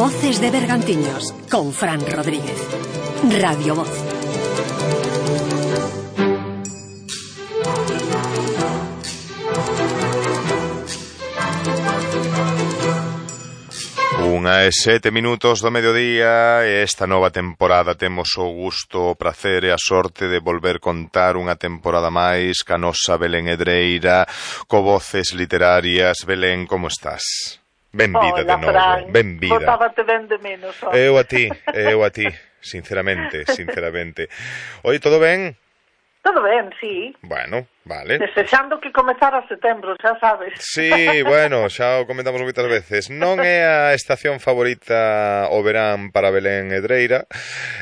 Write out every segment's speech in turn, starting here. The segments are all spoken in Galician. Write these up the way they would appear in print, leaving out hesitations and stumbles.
Voces de Bergantiños, con Fran Rodríguez. Radio Voz. Unha e 7 minutos do mediodía e esta nova temporada temos o gusto, o prazer e a sorte de volver contar unha temporada máis ca nosa Belén Hedreira, co Voces Literarias. Belén, como estás? Benvida de novo, benvida. Botábate ben de menos. Eu a ti, sinceramente. Oi, todo ben? Todo ben, sí. Bueno, vale. Desexando que comezara setembro, xa sabes. Sí, bueno, xa o comentamos moitas veces. Non é a estación favorita o verán para Belén Hedreira.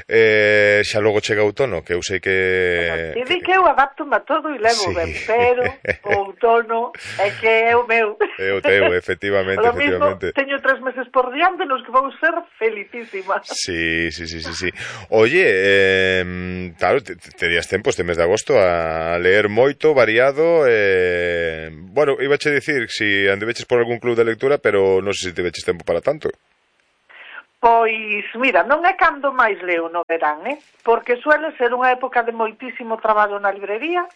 Xa logo chega outono, que eu sei que... Ti di que eu adapto-me a todo e levo sí. Ben, pero o outono é que é o meu. É o teu, efectivamente. Lo mismo, teño 3 meses por diante nos que vou ser felicísima. Sí. Oye, claro, terías tempo este mes de agosto a leer moito, variado, bueno, ibache dicir si andeveches por algún club de lectura, pero non sei se tiveches tempo para tanto. Pois, mira, non é cando máis leo no verán, porque suele ser unha época de moitísimo traballo na librería.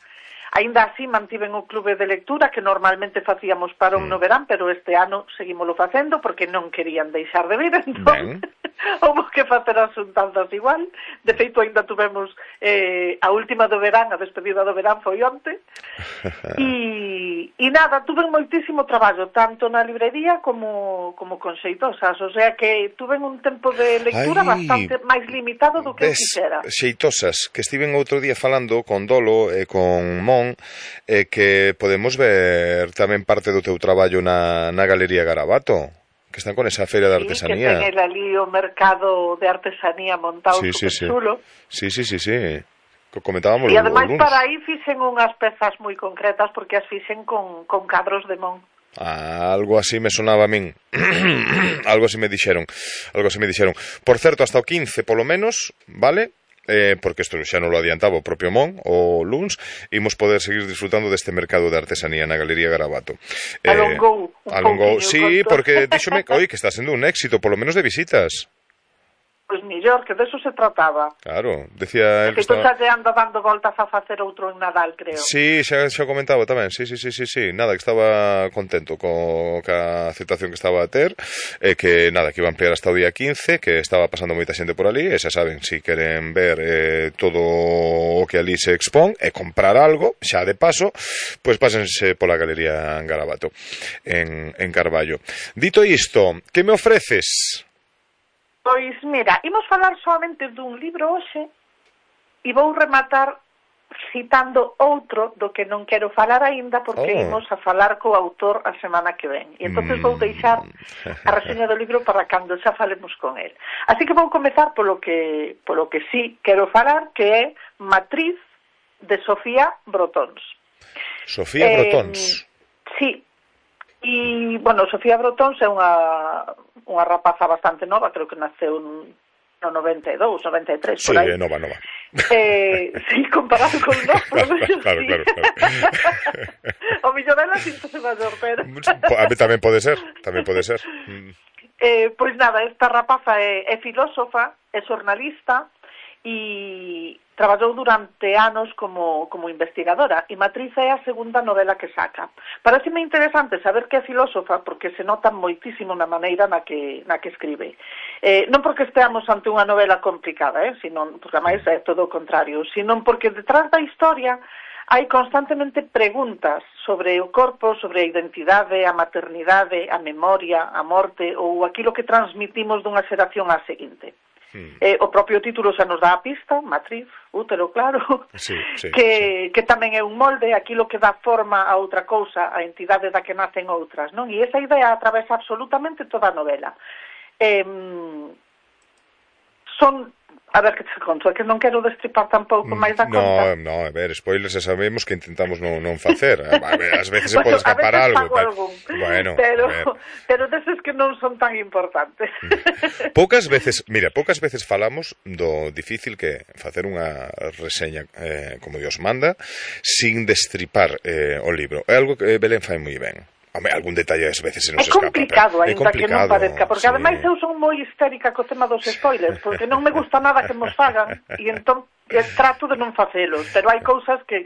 Ainda así mantiven o clube de lectura que normalmente facíamos para un no verán, pero este ano seguímolo facendo porque non querían deixar de vir, entón houve que facer as xuntanzas igual. De feito, ainda tuvemos a última do verán, a despedida do verán foi onte. E nada, tuve moitísimo traballo, tanto na librería como con Xeitosas, o sea que tuve un tempo de lectura bastante máis limitado do que quixera. Xeitosas, que estiven outro día falando con Dolo e con Mon, que podemos ver tamén parte do teu traballo na Galería Garabato, que están con esa feira de artesanía. Que ten ali o mercado de artesanía montado chulo. Sí. Comentábamos e ademais para aí fixen unhas pezas moi concretas porque as fixen con cadros de Mon. Algo así me sonaba a min. Algo así me dixeron. Por certo, hasta o 15 polo menos, vale? Porque isto xa non lo adiantaba o propio Mon o luns, imos poder seguir disfrutando deste mercado de artesanía na Galería Garabato. Alongou, sí, porque díxome que está sendo un éxito, polo menos de visitas. Pois millor, que deso se trataba. Claro, decía... Que tú xa te anda dando voltas a facer outro en Nadal, creo. Sí, xa comentaba tamén, sí. Nada, que estaba contento ca aceptación que estaba a ter, que nada, que iba a ampliar hasta o día 15, que estaba pasando moita xente por ali, e xa saben, si queren ver todo o que ali se expón, e comprar algo, xa de paso, pois pásense pola Galería Garabato, en Carballo. Dito isto, que me ofreces? Pois, mira, imos falar solamente dun libro hoxe e vou rematar citando outro do que non quero falar aínda porque imos a falar co autor a semana que ven. E entonces vou deixar a reseña do libro para cando xa falemos con el. Así que vou comezar polo que sí quero falar, que é Matriz, de Sofía Brotons. Sofía Brotons? Sí. E, bueno, Sofía Brotons é unha rapaza bastante nova, creo que naceu no 92, 93, por aí. Sí, nova. Sí, comparado con nós, claro. O millón dela síntose maior, pero... A mí tamén pode ser. Pois nada, esta rapaza é filósofa, é xornalista, e traballou durante anos como investigadora, e Matriz é a segunda novela que saca. Pareceme interesante saber que é filósofa porque se nota moitísimo na maneira na que escribe. Non porque esteamos ante unha novela complicada, sino porque máis é todo o contrario, sino porque detrás da historia hai constantemente preguntas sobre o corpo, sobre a identidade, a maternidade, a memoria, a morte ou aquilo que transmitimos dunha xeración á seguinte. O propio título xa nos dá a pista, Matriz, útero, claro, que tamén é un molde, aquilo que dá forma a outra cousa, a entidade da que nacen outras, non? E esa idea atravesa absolutamente toda a novela. A ver, que te conto, é que non quero destripar tampouco máis da conta. No, a ver, spoilers xa sabemos que intentamos non facer. A ver, ás veces se pode escapar algo. Bueno, pero deses que non son tan importantes. Poucas veces falamos do difícil que facer unha reseña como Dios manda, sin destripar o libro. É algo que Belén fai moi ben. Home, algún detalle ás veces se nos escapa. É complicado, aínda que non parezca, porque ademais eu son moi histérica co tema dos spoilers, porque non me gusta nada que nos fagan, e entón trato de non facelos, pero hai cousas que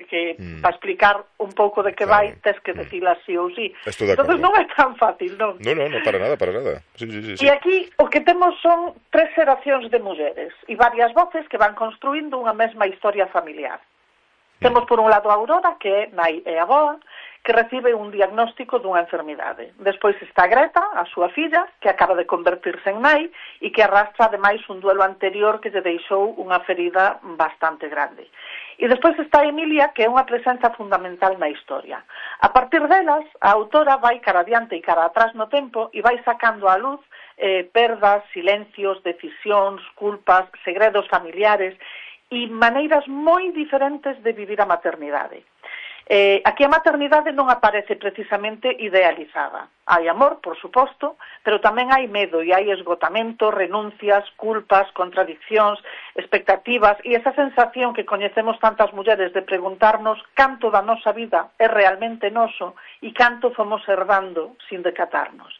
para explicar un pouco de que vai, tes que decilas sí ou sí. Entón non é tan fácil, non? Non, para nada. Sí. E aquí o que temos son 3 xeracións de mulleres e varias voces que van construindo unha mesma historia familiar. Temos por un lado a Aurora, que é nai e avoa, que recibe un diagnóstico dunha enfermidade. Despois está Greta, a súa filla, que acaba de convertirse en nai e que arrastra ademais un duelo anterior que lle deixou unha ferida bastante grande. E despois está Emilia, que é unha presenza fundamental na historia. A partir delas, a autora vai cara adiante e cara atrás no tempo e vai sacando á luz perdas, silencios, decisións, culpas, segredos familiares e maneiras moi diferentes de vivir a maternidade. Aquí a maternidade non aparece precisamente idealizada. Hai amor, por suposto, pero tamén hai medo e hai esgotamento, renuncias, culpas, contradiccións, expectativas e esa sensación que coñecemos tantas mulleres de preguntarnos canto da nosa vida é realmente noso e canto fomos herdando sin decatarnos.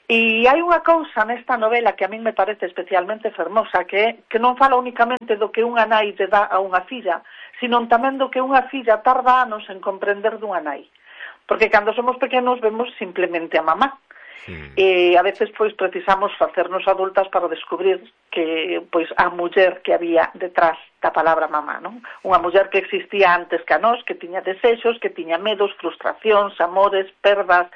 E hai unha cousa nesta novela que a min me parece especialmente fermosa, que non fala únicamente do que unha nai lle dá a unha filla, sino tamén do que unha filla tarda anos en comprender dunha nai. Porque cando somos pequenos vemos simplemente a mamá. E a veces pois precisamos facernos adultas para descubrir que pois a muller que había detrás da palabra mamá, non? Unha muller que existía antes que a nós, que tiña desexos, que tiña medos, frustracións, amores, perdas,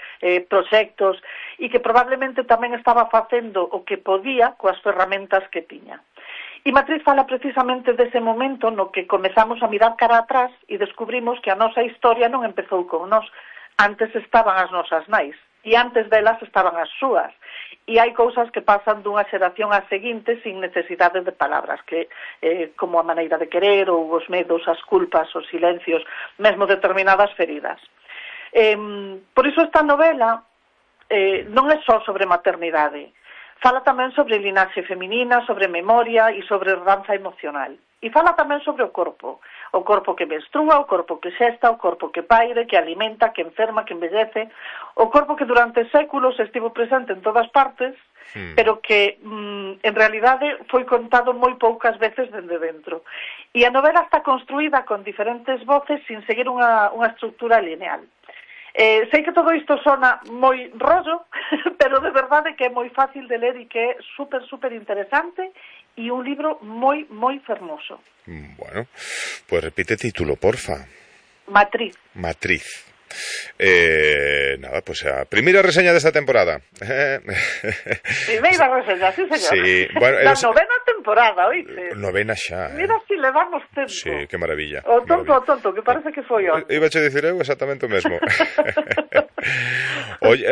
proxectos e que probablemente tamén estaba facendo o que podía coas ferramentas que tiña. E Matriz fala precisamente dese momento no que comezamos a mirar cara atrás e descubrimos que a nosa historia non empezou con nós. Antes estaban as nosas nais e antes delas estaban as súas. E hai cousas que pasan dunha xeración á seguinte sin necesidade de palabras, que como a maneira de querer ou os medos, as culpas, os silencios, mesmo determinadas feridas. Por iso esta novela non é só sobre maternidade. Fala tamén sobre linaxe feminina, sobre memoria e sobre herdanza emocional. E fala tamén sobre o corpo que menstrua, o corpo que xesta, o corpo que paire, que alimenta, que enferma, que envellece, o corpo que durante séculos estivo presente en todas partes, pero que en realidade foi contado moi poucas veces dende dentro. E a novela está construída con diferentes voces sin seguir unha estructura lineal. Sei que todo isto sona moi rollo, pero de verdade que é moi fácil de ler e que é super interesante e un libro moi fermoso. Bueno, pues repite título, porfa. Matriz. Nada, pues a primeira reseña desta temporada. Primeira reseña, sí, señor. Sí, bueno, la novena temporada, oíste. Novena xa. Mira si le damos tempo. Sí, que maravilla. O tonto, que parece que foi hoy. Iba a dicir eu exactamente o mesmo. Oye,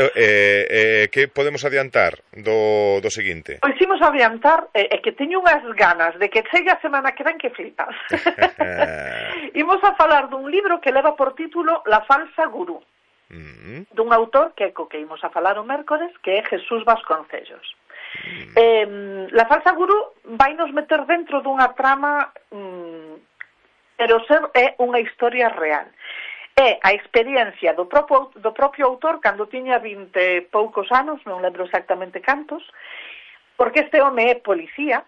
que podemos adiantar do seguinte? Pois imos adiantar que teño unhas ganas de que chegue a semana que ven que flipas. Imos a falar dun libro que leva por título La falsa gurú, dun autor que imos a falar o mércores, que é Jesús Vasconcellos. La falsa gurú vai nos meter dentro dunha trama, pero é unha historia real. É a experiencia do propio autor cando tiña 20 poucos anos, non lembro exactamente cantos, porque este home é policía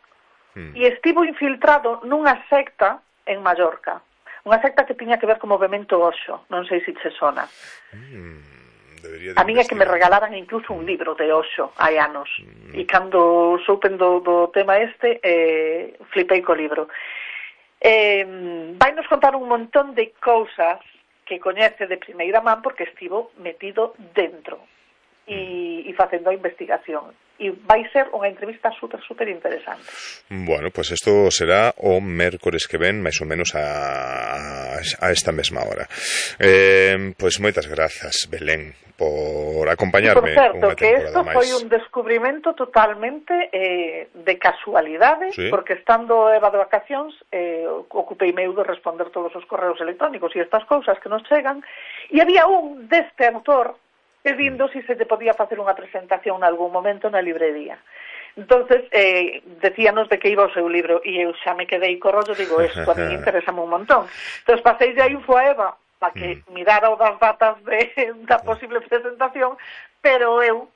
e estivo infiltrado nunha secta en Mallorca. Unha secta que tiña que ver co movemento Osho, non sei se che sona. A min é que me regalaran incluso un libro de Osho hai anos, e cando soupen do tema flipei co libro. Vai nos contar un montón de cousas que coñece de primeira man porque estivo metido dentro e facendo a investigación. E vai ser unha entrevista super interesante. Bueno, pues isto será o mércores que ven, máis ou menos a esta mesma hora. Pues moitas grazas, Belén, por acompañarme. Por certo, que isto foi un descubrimento totalmente de casualidade, sí. Porque estando Eva de vacacións, ocupei meu de responder todos os correos electrónicos e estas cousas que nos chegan, e había un deste autor pedindo se te podía facer unha presentación en algún momento na librería. Entonces, decíanos de que iba o seu libro e eu xa me quedei co rollo, digo, isto a mí interésame un montón. Entonces, pasei de info a Eva para que mirara o das datas da posible presentación, pero eu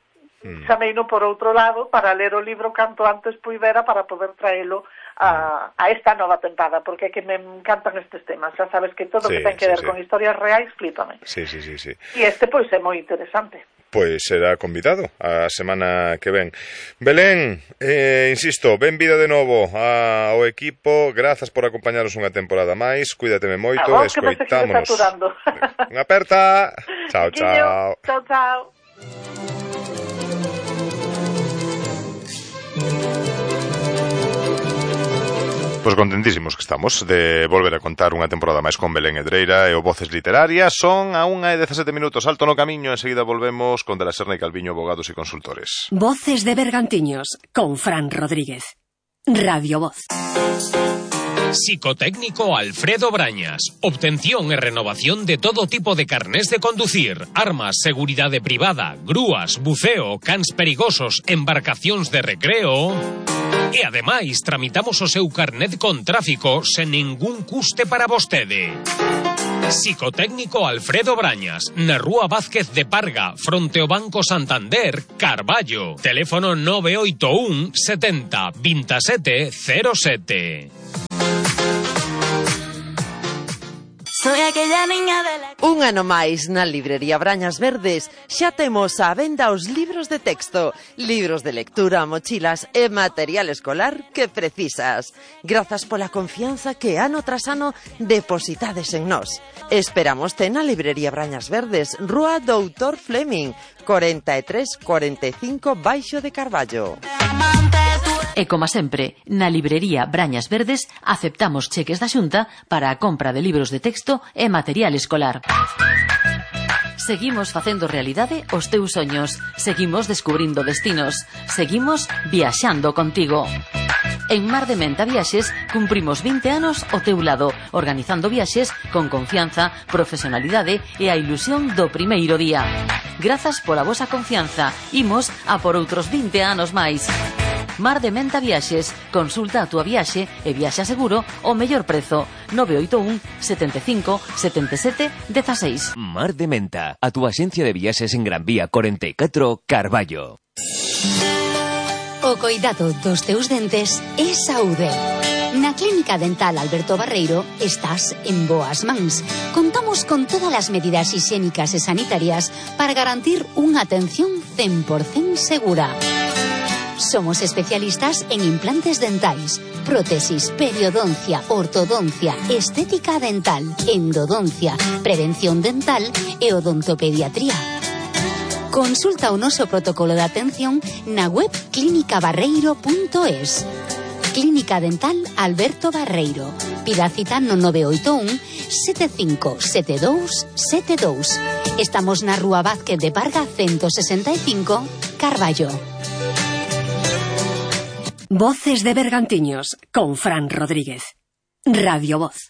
chameino por outro lado para ler o libro canto antes puidera para poder traelo a esta nova tempada, porque é que me encantan estes temas. Xa sabes que todo que ten que ver con historias reais flipame. Sí. E este pois é moi interesante. Pois será convidado a semana que ven. Belén, insisto, benvida de novo ao equipo, grazas por acompañarnos unha temporada máis, cuídateme moito, escoitámonos. Unha aperta. Chao. Chao. Pois contentísimos que estamos de volver a contar unha temporada máis con Belén Hedreira e o Voces Literarias. Son a 1:17 minutos, alto no camiño, enseguida volvemos con De la Serna y Calviño, abogados y consultores. Voces de Bergantiños, con Fran Rodríguez. Radio Voz. Psicotécnico Alfredo Brañas. Obtención e renovación de todo tipo de carnés de conducir, armas, seguridade privada, grúas, buceo, cans perigosos, embarcacións de recreo. E ademais tramitamos o seu carnet con tráfico sen ningún custe para vostede. Psicotécnico Alfredo Brañas, na Rúa Vázquez de Parga, fronte ao Banco Santander, Carballo. Teléfono 981 70 27 07. Soy aquella niña de la... Un ano máis na librería Brañas Verdes xa temos á venda os libros de texto, libros de lectura, mochilas e material escolar que precisas. Grazas pola confianza que ano tras ano depositades en nós. Esperámoste na librería Brañas Verdes, Rúa Doutor Fleming, 4345 baixo de Carballo. E como sempre, na librería Brañas Verdes aceptamos cheques da Xunta para a compra de libros de texto e material escolar. Seguimos facendo realidade os teus soños, seguimos descubrindo destinos, seguimos viaxando contigo. En Mar de Menta Viaxes cumprimos 20 anos ao teu lado, organizando viaxes con confianza, profesionalidade e a ilusión do primeiro día. Grazas pola vosa confianza, imos a por outros 20 anos máis. Mar de Menta Viaxes, consulta a túa viaxe e viaxa seguro ao mellor prezo. 981 75 77 16. Mar de Menta, a túa axencia de viaxes en Gran Vía 44, Carballo. O coidado dos teus dentes é saúde. Na Clínica Dental Alberto Barreiro estás en boas mans. Contamos con todas as medidas higiénicas e sanitarias para garantir unha atención 100% segura. Somos especialistas en implantes dentais, prótesis, periodoncia, ortodoncia, estética dental, endodoncia, prevención dental e odontopediatría. Consulta o noso protocolo de atención na web clinicabarreiro.es. Clínica Dental Alberto Barreiro. Pida cita no 981 75 72 72. Estamos na Rúa Vázquez de Parga 165, Carballo. Voces de Bergantiños, con Fran Rodríguez. Radio Voz.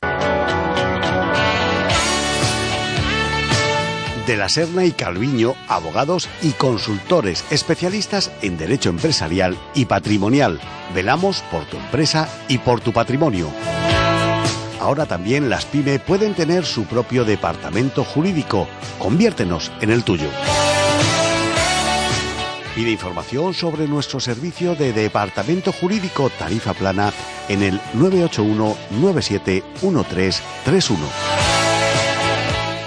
De la Serna y Calviño, abogados y consultores especialistas en derecho empresarial y patrimonial. Velamos por tu empresa y por tu patrimonio. Ahora también las PYME pueden tener su propio departamento jurídico. Conviértenos en el tuyo. Pide información sobre nuestro servicio de departamento jurídico tarifa plana en el 981 97 1331.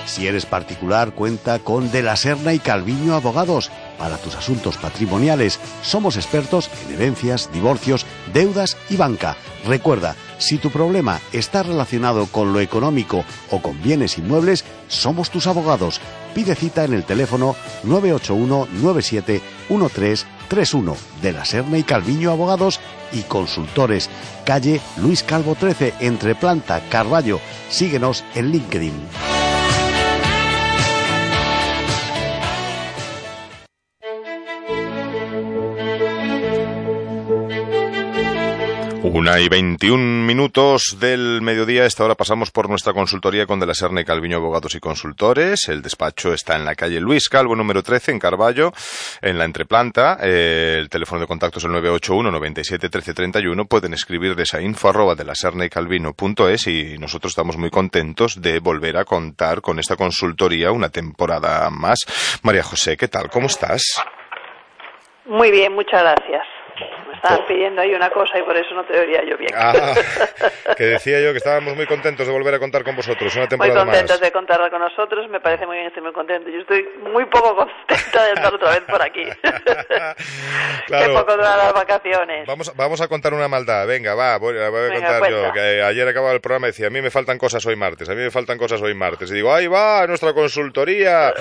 Si eres particular, cuenta con De la Serna y Calviño Abogados. Para tus asuntos patrimoniales, somos expertos en herencias, divorcios, deudas y banca. Recuerda, si tu problema está relacionado con lo económico o con bienes inmuebles, somos tus abogados. Pide cita en el teléfono 981 97 1331. De la Serna y Calviño Abogados y Consultores. Calle Luis Calvo 13, entre Planta, Carballo. Síguenos en LinkedIn. 1:21 del mediodía. A esta hora pasamos por nuestra consultoría con De la Serna y Calviño, abogados y consultores. El despacho está en la calle Luis Calvo, número 13, en Carballo, en la entreplanta. El teléfono de contacto es el 981 97 13 31. Pueden escribir desde info@delasernaycalvino.es y nosotros estamos muy contentos de volver a contar con esta consultoría una temporada más. María José, ¿qué tal? ¿Cómo estás? Muy bien, muchas gracias. Me estaban pidiendo ahí una cosa y por eso no te oía yo bien. Que decía yo que estábamos muy contentos de volver a contar con vosotros una temporada más. Muy contentos de contar con nosotros, me parece muy bien, estoy muy contento. Yo estoy muy poco contenta de estar otra vez por aquí. Claro. Qué poco duran las vacaciones. Vamos a contar una maldad. Venga, voy a contar cuenta. yo. Que ayer acababa el programa y decía, a mí me faltan cosas hoy martes. Y digo, ahí va nuestra consultoría.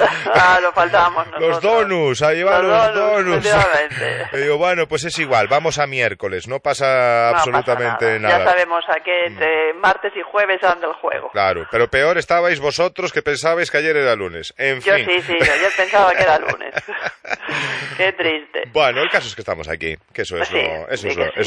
Lo faltábamos nosotros. Los donuts, ahí van los donuts. Efectivamente. Y digo, bueno, pues es igual, vamos a miércoles, no pasa absolutamente nada. Ya sabemos a qué entre martes y jueves anda el juego. Claro, pero peor estabais vosotros que pensabais que ayer era lunes. En fin. Yo pensaba que era lunes. Qué triste. Bueno, el caso es que estamos aquí, que eso es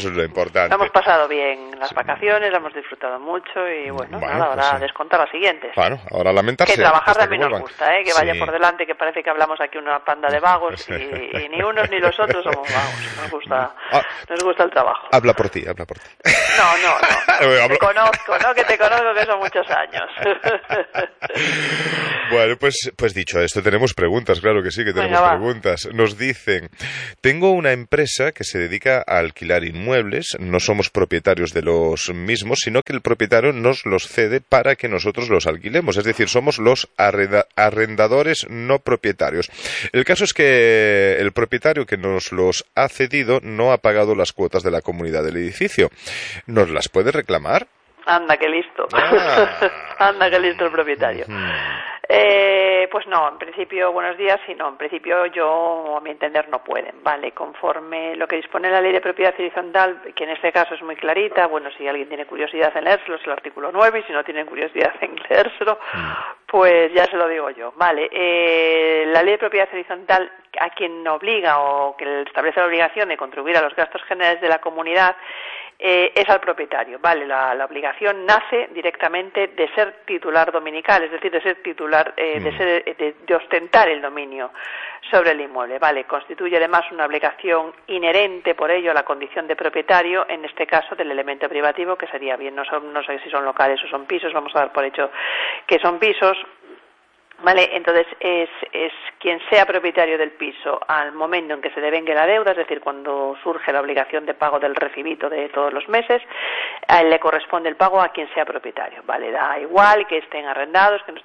lo importante. Lo hemos pasado bien las vacaciones, lo hemos disfrutado mucho y bueno nada, ahora a descontar las siguientes. Bueno, ahora lamentarse. Que trabajar también nos gusta, que vaya por delante, que parece que hablamos aquí una panda de vagos y ni unos ni los otros somos vagos. Nos gusta el trabajo. Habla por ti. No. Te conozco, que son muchos años. Bueno, pues dicho esto, tenemos preguntas, claro que sí, que tenemos preguntas. Nos dicen, tengo una empresa que se dedica a alquilar inmuebles, no somos propietarios de los mismos, sino que el propietario nos los cede para que nosotros los alquilemos, es decir, somos los arrendadores no propietarios. El caso es que el propietario que nos los ha cedido no ha pagado las cuotas de la comunidad del edificio. ¿Nos las puede reclamar? Anda, qué listo. Anda, qué listo el propietario. Pues no, en principio, buenos días, y no, en principio yo, a mi entender, no pueden, ¿vale? Conforme lo que dispone la Ley de Propiedad Horizontal, que en este caso es muy clarita, bueno, si alguien tiene curiosidad en leérselo, es el artículo 9, y si no tienen curiosidad en leérselo, pues ya se lo digo yo, ¿vale? La Ley de Propiedad Horizontal, a quien obliga o que establece la obligación de contribuir a los gastos generales de la comunidad, es al propietario, ¿vale? La obligación nace directamente de ser titular dominical, es decir, de ser titular, de ostentar el dominio sobre el inmueble, ¿vale? Constituye además una obligación inherente por ello a la condición de propietario, en este caso del elemento privativo, que sería bien, no sé si son locales o son pisos, vamos a dar por hecho que son pisos. Vale, entonces es quien sea propietario del piso al momento en que se devengue la deuda, es decir, cuando surge la obligación de pago del recibito de todos los meses, a él le corresponde el pago a quien sea propietario, vale, da igual que estén arrendados, que no